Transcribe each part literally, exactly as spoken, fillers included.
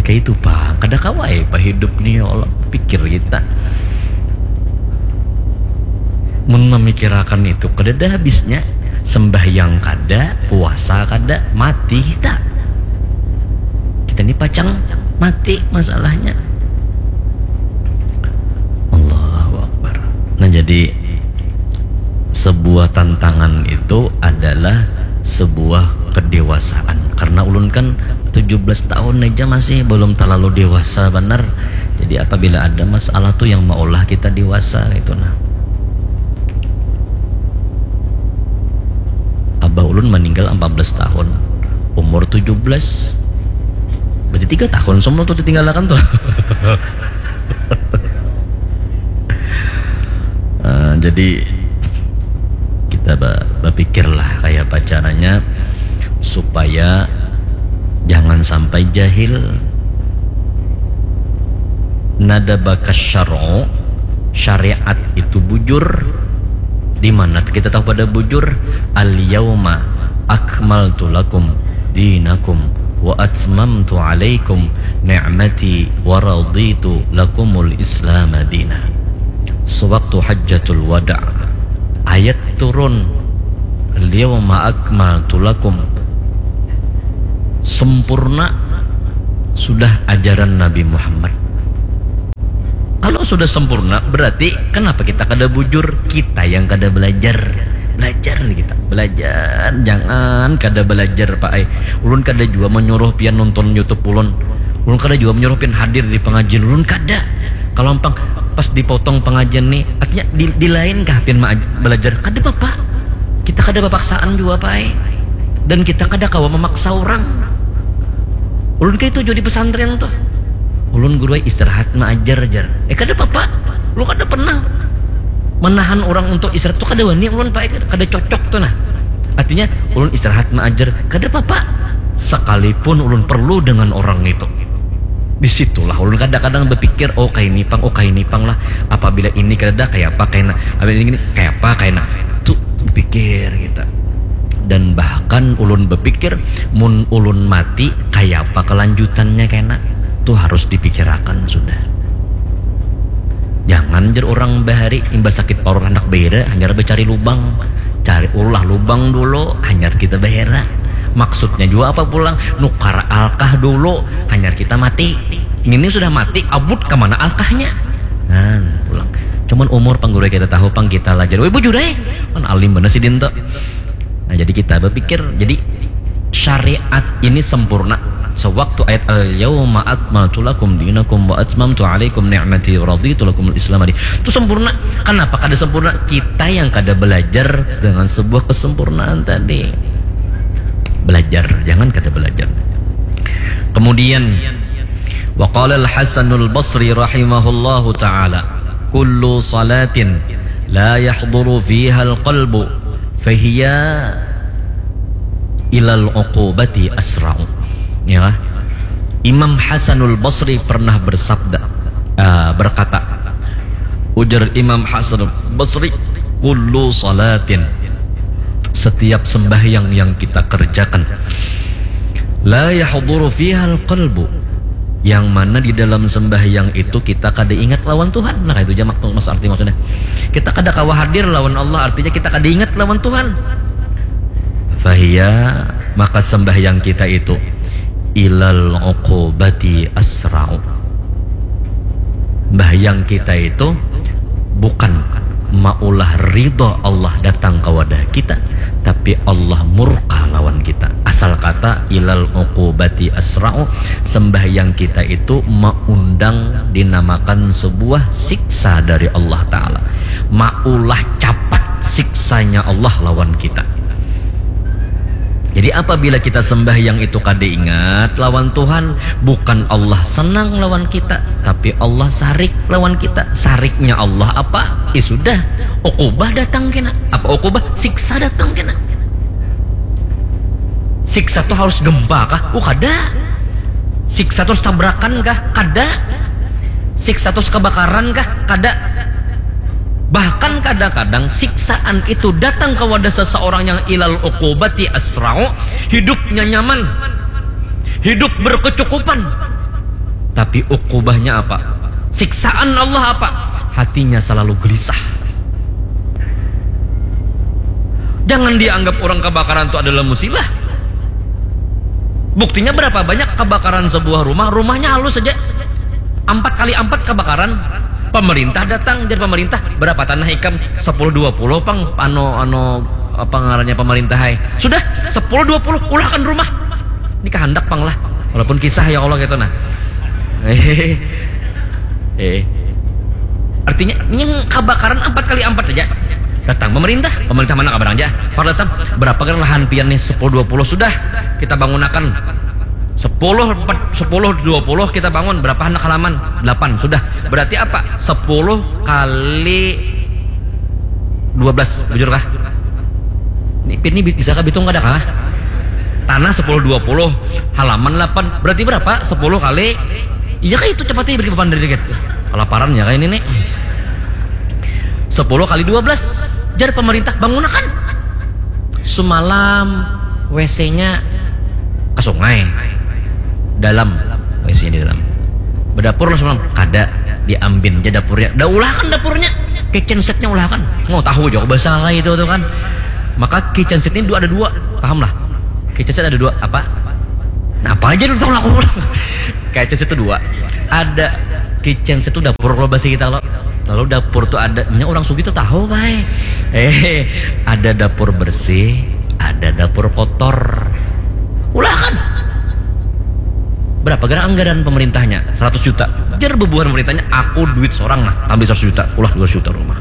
Kayak itu pang, kada kawa ai bahidup ni, ya Allah, pikir kita. Mun memikirakan itu, kada ada habisnya. Sembahyang kada, puasa kada, mati kita. Kita ni pacang mati masalahnya. Allahu Akbar. Nah, jadi sebuah tantangan itu adalah sebuah kedewasaan. Karena ulun kan tujuh belas tahun aja masih belum terlalu dewasa benar. Jadi apabila ada masalah tuh yang maulah kita dewasa gitu nah. Abah ulun meninggal empat belas tahun, umur tujuh belas. Berarti tiga tahun semua tuh ditinggalkan tuh. Eh, jadi kita ba- berpikirlah kayak apa caranya supaya jangan sampai jahil. Nada bakas syar'u, syariat itu bujur. Di mana kita tahu pada bujur? Al yauma akmaltu lakum dinakum wa atmamtu alaikum ni'mati wa raditu lakumul islama dina. Sewaktu hajjatul wada, ayat turun, "Al-yawma akmaltu lakum," sempurna sudah ajaran Nabi Muhammad. Kalau sudah sempurna, berarti kenapa kita kada bujur? Kita yang kada belajar. Belajar kita, belajar. Jangan kada belajar, Pak ai. Ulun kada jua menyuruh pian nonton YouTube ulun. Ulun kada jua menyuruh pian hadir di pengajian ulun, kada. Kalau ampang pas dipotong pengajian nih, artinya di, di lain kah pian ma- belajar? Kada apa-apa. Kita kada papaksaan jua, Pak ai. Dan kita kada kawa memaksa orang. Ulun kayak itu jua di pesantren tuh. Ulun guru ai istirahat maajar, jar. Eh, kada apa-apa. Ulun kada pernah menahan orang untuk istirahat tuh, kada wani ulun, Pak ai. Kada cocok tuh nah. Artinya ulun istirahat maajar, kada apa-apa. Sekalipun ulun perlu dengan orang itu. Di situlah ulun kadang-kadang berpikir, oh, kayak ini pang, oh, kayak ini pang lah. Apabila ini kada ada, kayak apa, kayak na. Apabila ini kayak apa, kayak na. Tuh berpikir kita. Dan bahkan ulun berpikir, mun ulun mati, kayak apa kelanjutannya, kena. Tuh harus dipikirakan sudah. Jangan, jar orang bahari, imbah sakit parut handak baira, hanyar bacari lubang. Cari ulah lubang dulu, hanyar kita bahera. Maksudnya jua apa pulang? Nukar alkah dulu, hanyar kita mati. Ini sudah mati, abut ke mana alkahnya? Nah, pulang. Cuman umur pang guru kita tahu pang kita lah. Jadi, weh, bujur eh. Kan alim bener si Dinto. Nah, jadi kita berpikir, jadi syariat ini sempurna. Sewaktu ayat "Al-yawma akmaltu lakum dinakum wa atmamtu alaikum ni'mati wa raditu lakumul Islam" tadi itu sempurna. Kenapa kada sempurna? Kita yang kada belajar dengan sebuah kesempurnaan tadi. Belajar, jangan kada belajar. Kemudian, wa qala Al-Hasanul Basri rahimahullahu taala, "Kullu salatin la yahduru fiha al-qalbu fahiya ilal uqubati asra'u." Ya. Imam Hasanul Basri pernah bersabda, eh, berkata, ujar Imam Hasanul Basri, "Kullu salatin," setiap sembahyang yang kita kerjakan, "la yahduru fihal qalbu," yang mana di dalam sembahyang itu kita kada ingat lawan Tuhan. Nah, itu aja maksud, mas arti maksudnya. Kita kada kawa hadir lawan Allah, artinya kita kada ingat lawan Tuhan. Fahiya, maka sembahyang kita itu ilal uqubati asra'u. Sembahyang kita itu bukan maulah ridha Allah datang ke wadah kita, tapi Allah murka lawan kita. Asal kata ilal uqubati asra'u, sembahyang kita itu maundang dinamakan sebuah siksa dari Allah Ta'ala. Maulah capat siksanya Allah lawan kita. Jadi apabila kita sembahyang itu kada ingat lawan Tuhan, bukan Allah senang lawan kita, tapi Allah sarik lawan kita. Sariknya Allah apa? Ya sudah, ukubah datang kena. Apa ukubah? Siksa datang kena. Siksa tuh harus gempa kah? Uh, kada. Siksa terus tabrakan kah? Kada. Siksa terus kebakaran kah? Kada. Bahkan kadang-kadang siksaan itu datang kepada seseorang yang ilal uqubati asra'u, hidupnya nyaman, hidup berkecukupan. Tapi ukubahnya apa? Siksaan Allah apa? Hatinya selalu gelisah. Jangan dianggap orang kebakaran itu adalah musibah. Buktinya berapa banyak kebakaran sebuah rumah, rumahnya halus saja. Empat kali empat kebakaran, pemerintah datang, jar pemerintah, "Berapa tanah ikam?" "Sepuluh dua puluh pang, anu, anu, apa ngarannya pemerintah hai." "Sudah, sepuluh dua puluh, ulahkan rumah." Ini kehendak pang lah. Walaupun kisah ya Allah gitu nah. Eh. Artinya yang kebakaran empat kali empat aja. Datang pemerintah, pemerintah mana kabarang aja. Pak datang, "Berapa kan lahan pian nih?" "Sepuluh dua puluh." "Sudah, kita bangunakan." Sepuluh, empat, sepuluh, dua puluh kita bangun. "Berapa anak halaman?" "Delapan." "Sudah." "Berarti apa?" "Sepuluh kali dua belas." Bujur kah? Ini, ini bi-, bisa kah bitung kada kah? Tanah sepuluh dua puluh, halaman delapan. Berarti berapa? Sepuluh kali. Iya kah itu, cepatnya beri beban dari dikit. Kelaparan ya kah ini nih. Sepuluh kali dua belas. Jar pemerintah, "Bangunakan." Sumalam W C-nya ke sungai. Dalam. W C-nya di dalam. Bedapur lah semalam. Kada. Diambin aja dapurnya. Dah ulahkan dapurnya. Kitchen setnya ulahkan. Mau tahu juga bahasa itu tuh kan. Maka kitchen set ini dua, ada dua. Paham lah? Kitchen set ada dua. Apa? Nah, apa aja dulu tahu aku ulang. Kitchen set itu dua. Ada kitchen set itu dapur kalau bahasa kita lo. Lalu dapur tuh ada, nya orang sugih tuh tahu, Bay. Eh, ada dapur bersih, ada dapur kotor. Ulahkan. Berapa gara anggaran pemerintahnya? Seratus juta. Jar bebuhan pemerintahnya, "Aku duit seorang nah, tambah seratus juta, ulah dua ratus juta rumah."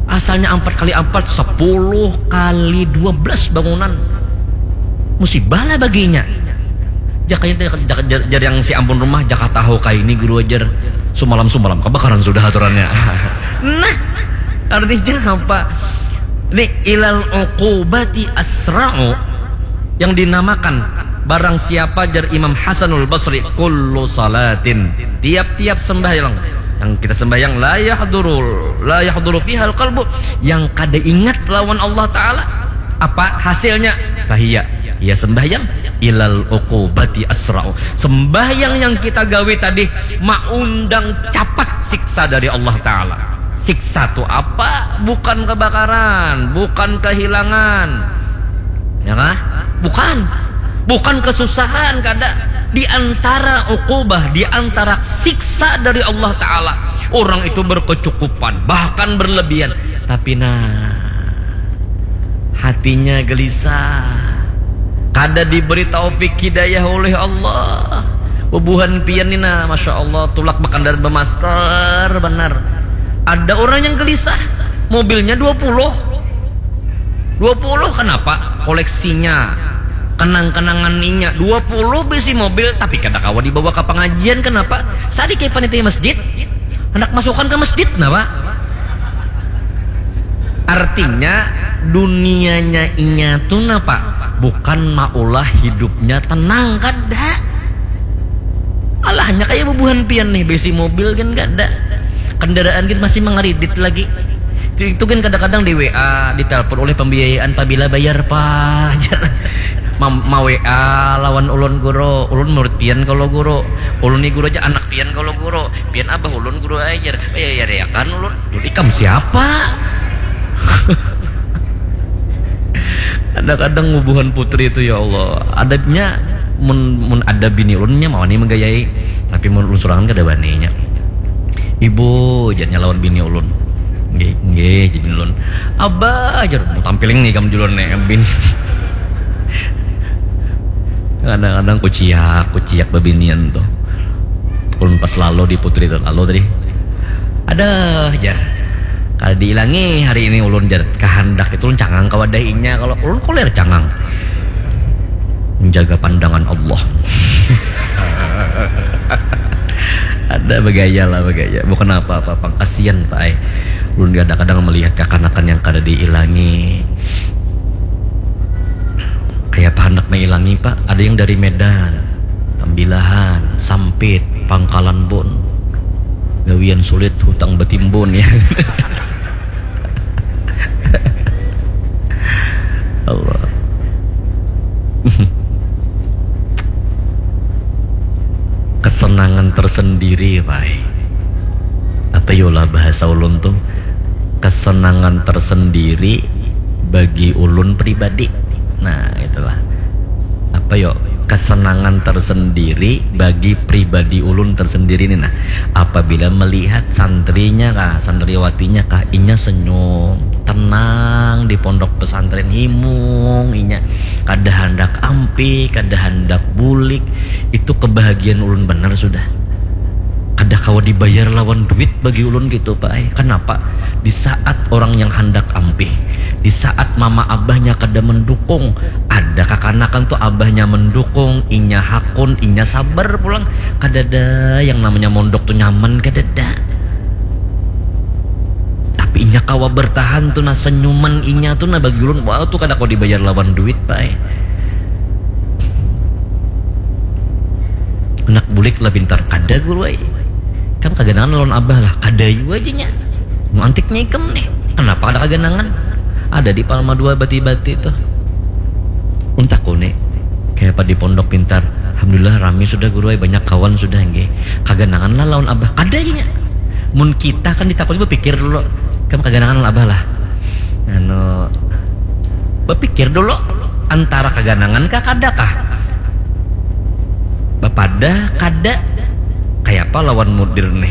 Asalnya empat kali empat, sepuluh kali dua belas bangunan. Musibah lah baginya. Jakanya jar, jar, jar yang si ampun rumah, "Jaka tahu kaini guru ajar, sumalam-sumalam kebakaran sudah aturannya." Nah, artinya apa? Ini ilal uqubati asra'u yang dinamakan barang siapa, jar Imam Hasanul Basri, kullu salatin, tiap-tiap sembahyang yang kita sembahyang, la yahduru, la yahduru fihal qalbu, yang kada ingat lawan Allah Ta'ala, apa hasilnya? Fahiya, ia sembahyang, ilal uqubati asra'u, sembahyang yang kita gawe tadi maundang capat siksa dari Allah Ta'ala. Siksa tu apa? Bukan kebakaran, bukan kehilangan, ya kah? Bukan. Bukan kesusahan, kada. Di antara uqubah, di antara siksa dari Allah Ta'ala, orang itu berkecukupan, bahkan berlebihan. Tapi nah, hatinya gelisah, kada diberi taufik hidayah oleh Allah. Bubuhan pian ni nah, Masya Allah, tulak bakandar bemasker benar. Ada orang yang gelisah, mobilnya dua puluh. Dua puluh, kenapa? Koleksinya, kenang-kenangan inya. Dua puluh bisi mobil, tapi kada kawa dibawa ke pengajian, kenapa? Sadikit panitia masjid, hendak masukkan ke masjid, kenapa? Artinya, dunianya inya tu napa? Bukan maulah hidupnya tenang, kada. Alahnya kaya bubuhan pian nih, besi mobil kan kada. Kendaraan kan masih mengeridit lagi. Itu, itu kan kadang-kadang di W A, ditelepon oleh pembiayaan, "Pabila bayar, Pak?" Jar. Ma-, ma-W A lawan ulun, "Guru, ulun murid pian kalau, Guru. Ulun ni, Guru, aja anak pian kalau, Guru. Pian abah ulun, Guru, ajar. Bayar ya kan ulun." Ikam siapa? Kadang-kadang bubuhan putri itu, ya Allah, adabnya, mun, mun ada bini ulunnya mau nih menggayai, tapi mun ulun sorangan kada baninya. "Ibu," jadinya lawan bini ulun. "Nggih, nggih," jadi ulun. "Abah," jar, "mau tampiling nih kamu dulu nih, bini." Kadang-kadang kuciak, kuciak babinian tuh. Ulun pas lalu di putri itu lalu tadi. "Ada," jar. "Kada diilangi hari ini ulun," jar. Kehendak itu ulun cangang ke wadah inya. Kalau ulun koler cangang. Menjaga pandangan Allah. Ada begaya lah, begaya. Bukan apa-apa, pang kasian, Pak, ai. Ulun kadang-kadang melihat kakanakan yang kada diilangi. Kayak apa hendak mailangi, Pak? Ada yang dari Medan, Tambilahan, Sampit, Pangkalan Bun. Gawian sulit, hutang betimbun, ya. Allah. Kes Kesenangan tersendiri, Pak. Apa yolah bahasa ulun tuh? Kesenangan tersendiri bagi ulun pribadi. Nah, itulah. Apa yo? Kesenangan tersendiri bagi pribadi ulun tersendiri nih, nah. Apabila melihat santrinya kah, santriwatinya kah, inya senyum, tenang di pondok pesantren, himung inya, kada handak ampih, kada handak bulik, itu kebahagiaan ulun benar sudah. Kada kawa dibayar lawan duit bagi ulun gitu, Pak ai. Kenapa? Di saat orang yang handak ampih, di saat mama abahnya kada mendukung, ada kakanakan tuh abahnya mendukung, inya hakun, inya sabar pulang. Kadada yang namanya mondok tuh nyaman, kadada. Tapi inya kawa bertahan tuh, nah, senyuman inya tuh, nah, bagi ulun, wah, tuh kada kawa dibayar lawan duit, Pak ai. Anak bulik lah pintar, kada guru ai. Kam kaganangan lawan abah lah, kada jua aja nya. Mau antiknya ikam nih, kenapa ada kaganangan? Ada di Palma dua bati-bati tuh. Untak nih, kayak apa di pondok pintar. Alhamdulillah rami sudah guru ai, banyak kawan sudah nggih. Kaganangan lah lawan abah, kada aja nya. Mun kita kan ditakut berpikir dulu, kam kaganangan lawan abah lah. Anu, berpikir dulu antara kaganangan kah kada kah? Bapadah kada? Kayak apa lawan mudir nih?